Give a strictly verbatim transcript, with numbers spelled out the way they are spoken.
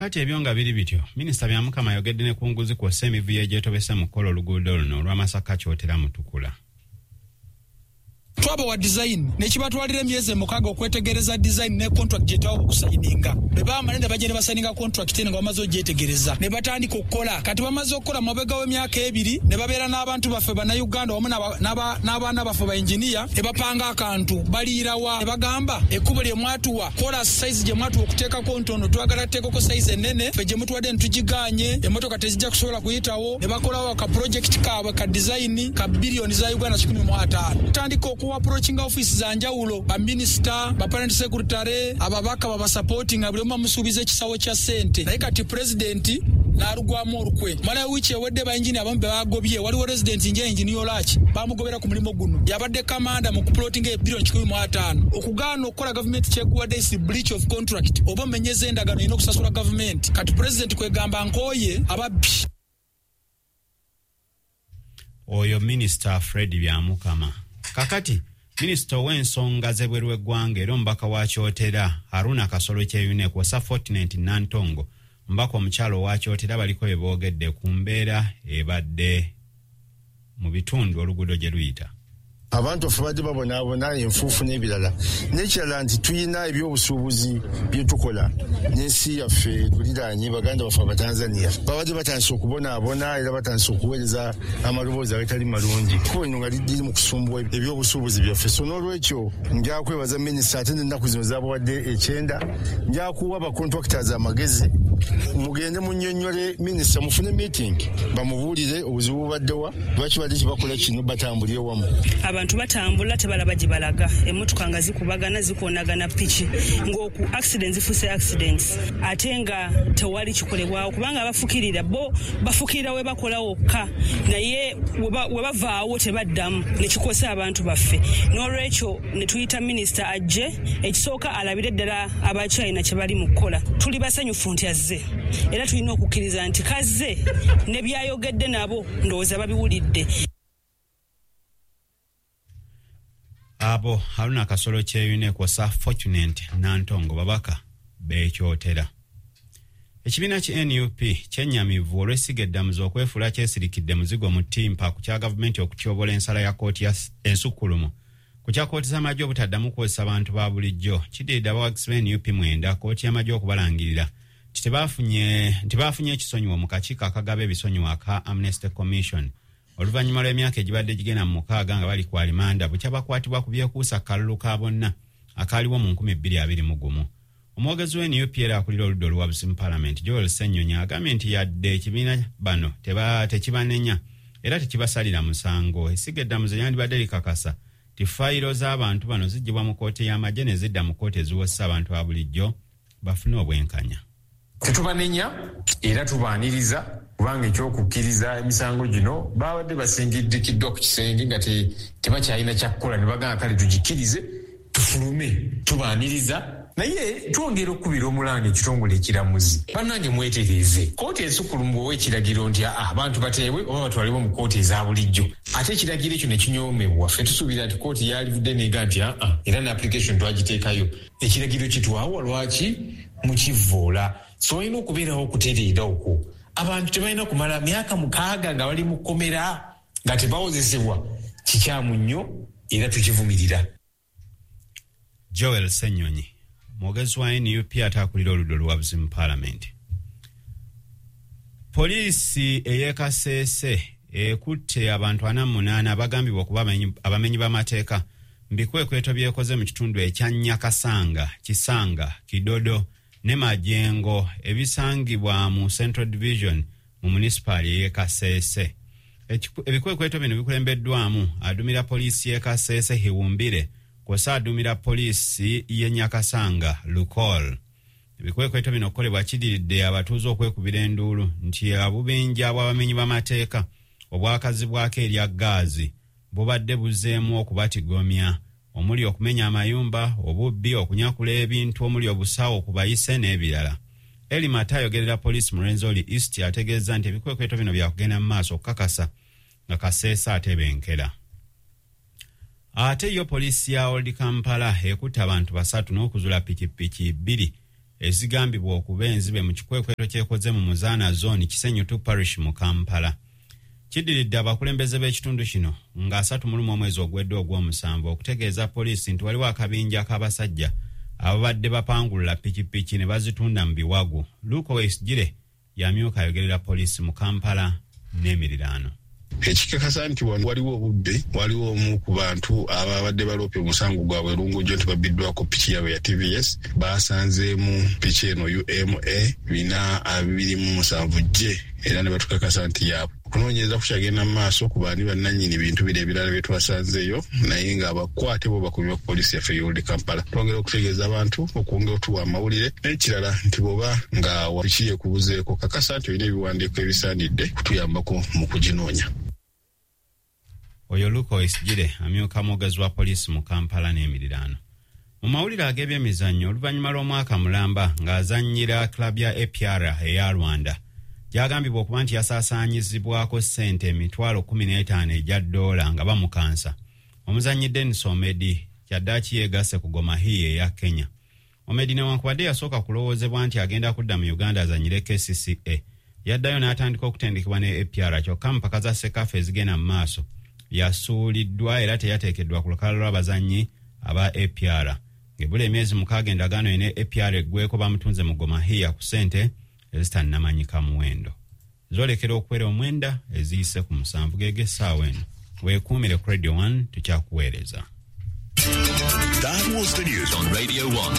Kakati ebyo nga biri bityo, Minisita Byamukama ayogedde ne ku nguzi kw'ossa emivuyo egyetobese mu kukola oluguudo luno olwa Masaka Kyotera Mutukula. Twabawa design nekibatwalira emyezi emukaaga okwetegereza design ne contract gye twawa okusayininga. Bwe baamala ne bajja ne basayininga contract eno nga bamaze ogyetegereza ne batandika okukola. Kati bamaze okukola mabega w'emyaka ebiri ne babeera n'abantu baffe Bannayuganda wamu n'abaana baffe ba engineer ne bapanga akantu baliirawa ne bagamba ekkubo lye mwatuwa kola size gye mwatuwa okuteekako ntono, twagala tuteekako size ennene, ffe gye mutuwadde ne tugigaanye, emmotoka tezijja kusobola kuyitawo. Ne bakolawo ka project kaabwe ka design ka biliyoni za Uganda kikumi mu ataano. Tutandika okuwa approaching office za njawulo, ba minister, ba parent secretary, ababaka babasupporting, buli omu bamusuubiza ekisawo kya ssente. Naye kati president n'alugwamu olukwe. Mala wiiki ewedde ba engineer abamu be bagobye, waliwo resident nje engineer Olaki bamugobera ku mulimu guno, yabadde kamanda mu kuplotinga ebiliyoni kikumi mu ataano. Okugaana okukola gavumenti kyekuwadde is breach of contract, oba omenyeza endagaano erina okusasula gavumenti. Kati president kwegamba nkooye ababbi. Oyo Minisita Fred Byamukama. Kakati Minisita ow'ensonga z'ebweru w'eggwanga era omubaka wa Kyotera Haruna Kasolo Kyeyune kw'ossa Fortunate Nantongo, omubaka omukyalo owa Kyotera, baliko bye boogedde ku mbeera ebadde mu bitundu oluguudo gye luyita. Abantu baffe badde babonaabona enfuufu n'ebirala. N'ekirala nti tulina ebyobusuubuzi bye tukola n'ensi yaffe tuliraanye baganda baffe Abatanzania babadde batandise okubonaabona era batandise okuweereza amaloboozi agatali malungi. Ekkubo lino nga liri mu kusumbuwa ebyobusuubuzi byaffe. So n'olwekyo nja kwebaza minisita ate n'ennaku zino zaabawadde ekyenda, nja kuwa abacontractors amagezi, mugende munnyonnyole minisita, mufune meeting bamubuulire obuzibu bubaddewa, lwaki badde kibakola kino, batambulire wamu. Abantu batambula tebalaba gye balaga, emmotoka nga zikubagana zikoonagana piki, ng'oku accidents zifuuse accidents, ate nga tewali kikolebwawo kubanga abafukirira bo bafukirira we bakola wokka, naye we bavaawo tebaddamu ne kikosa abantu baffe. N'olwekyo ne tuyita minisita ajje, ekisooka alabire ddala Abachina kye bali mu kukola. Tuli basanyufu nti azze, era tulina okukkiriza nti kazze ne byayogedde nabo ndowooza babiwulidde. Abo Haruna Kasolo Kyeyune kw'ossa Fortunate Nantongo babaka b'ekyotera. Ekibiina ki N U P kyennyamivu olw'essiga eddamuzi okwefuula kyesirikidde muzigo mu ttimpa ku kya gavumenti okutyobola ensala ya kkooti ya ensukkulumu ku kya kkooti z'amagye obutaddamu kukozesa bantu ba bulijjo. Kiddiridde abawagizi ba N U P mwenda kkooti y'amagye okubalangirira nti tebafunye nti baafunye ekisonyiwo mu kakiiko akagaba ebisonyiwo aka Amnesty Commission oluvannyuma lw'emyaka egibadde gigenda mu mukaaga nga bali ku alimanda bukya bakwatibwa ku byekuusa kalulu ka bonna akaaliwo mu nkumi bbiri abiri mu gumu. Omwogezi wa N U P era akulira oludda oluwabuzi mu Paalamenti Joel Ssenyonyi agambye nti yadde ekibiina bano tekibanenya era tekibasalira musango, essiga eddamuzi lyandibadde likakasa nti fayiro z'abantu bano ziggyibwa mu kkooti y'amagye ne zidda mu kkooti eziwozesa abantu ba bulijjo bafune obwenkanya. Tetubanenya era tubaaniriza kubanga ekyokukkiriza emisango gino babadde basingidikiddwa ku kisenge nga tebakyalina kyakukola ne bagamba kale tugikkirize tufulume, tubaaniriza. Naye twongera okukubira omulanga ekitongole ekiramuzi, bannange mwetereeze. Kkooti ensukkulumu bw'owa ekiragiro nti abantu bateebwe oba batwalibwe mu kkooti eza bulijjo, ate ekiragiro ekyo ne kinyoomebwa, ffe tusuubira nti kkooti yalivudde n'ega nti aa era ne application twagiteekayo, ekiragiro kitwawa lwaki mukivvoola. So olina okubeerawo okutereera okwo. Abantu tebalina kumala myaka mukaaga nga bali mu kkomera nga tebawozesebwa, kikyamu nnyo era tukivumirira. Joel Ssenyonyi mwogezi wa N U P ate akulira oludda oluwabuzi mu Paalamenti. Poliisi ey'e Kasese ekutte abantu ana mu munaana abagambibwa okuba abamenyi b'amateeka mu bikwekweto byekoze mu kitundu ekya Nyakasanga, Kisanga, Kidodo ne Majengo ebisangibwa mu Central Division mu munisipaali ey'e Kasese. Ebikwekweto bino bikulembeddwamu adumira poliisi y'e Kasese Hiwumbire kw'ossa adumira poliisi y'e Nyakasanga Lukol. Ebikwekweto bino okukolebwa kidiridde abatuuze okwekubira enduulu nti obubinja bw'abamenyi b'amateeka obwakazibwako erya ggaazi bubadde buzzeemu okubatigomya, omuli okumenya amayumba, obubbi, okunyakula ebintu omuli obusawo ku bayise n'ebirala. Eli Mata ayogerera poliisi mu Rwenzori East ategeeza nti ebikwekweto bino byakugenda mu maaso okukakasa nga Kasese atebenkera. Ate yo poliisi ya Old Kampala ekutte abantu basatu n'okuzula pikipiki bbiri Ezigambibwa okuba enzibe mu kikwekweto kyekoze mu Muzaana Zone, Kisenyi two Parish mu Kampala. Kiddiridde abakulembeze b'ekitundu kino nga asatu mu lumu omwezi ogwedde ogw'omusanvu okutegeeza poliisi nti waliwo akabinja k'abasajja ababadde bapangulula pikipiki ne bazitunda mu biwagu. Luke Owoyesigyire yamyuka ayogerera poliisi mu Kampala n'emiriraano. Ekikakasa nti wano waliwo obubbi, waliwo omu ku bantu ababadde baloopye omusango gwabwe Lungujjo nti babbiddwako piki yaabwe ya T V S. Basanzeemu piki eno U M A bina abiri mu musanvu J, era ne batukakasa nti yaabwe. Okunoonyereza kukyagenda mu maaso ku baani bannannyini bintu biri ebirala bye twasanzeeyo, naye ng'abakwate bo bakubibwa ku poliisi yaffe y'Old Kampala. Twongera okutegeeza abantu okwongera otuwa amawulire, n'ekirala nti bw'oba nga piki ekubuzeeko, kakasa nti olina ebiwandiiko ebisaanidde kutuyambako mu kuginoonya. Oyo Luke Owoyesigyire, amyuka mwogezi wa poliisi mu Kampala n'emiriraano. Mu mawulire ag'ebyemizannyo, oluvannyuma lw'omwaka mulamba ng'azannyira club ya A P R eya Rwanda, gyagambibwa okuba nti yasaasaanyizibwako ssente emitwalo kumi n'etaano egya ddoola nga bamukansa, omuzannyi Denis Omedi kyaddaaki yeegasse ku Gor Mahia eya Kenya. Omedi newankubadde yasooka kulowoozebwa nti agenda kudda mu Uganda azannyire K C C A, yaddayo n'atandika okutendekebwa ne A P R, kyokka mu mpaka za CECAFA ezigenda mu maaso yasuuliddwa era teyateekeddwa ku lukalala lw'abazannyi aba A P R. Ng'ebula emyezi mukaaga endagaano ye ne A P R eggweko, bamutunze mu Gor Mahia ku ssente ezitannamanyika muwendo. Zolekera okuwera omwenda eziyise ku musanvu geg'essaawa eno. Weekuumire ku Radio one, tukyakuweereza. That was the news on Radio one.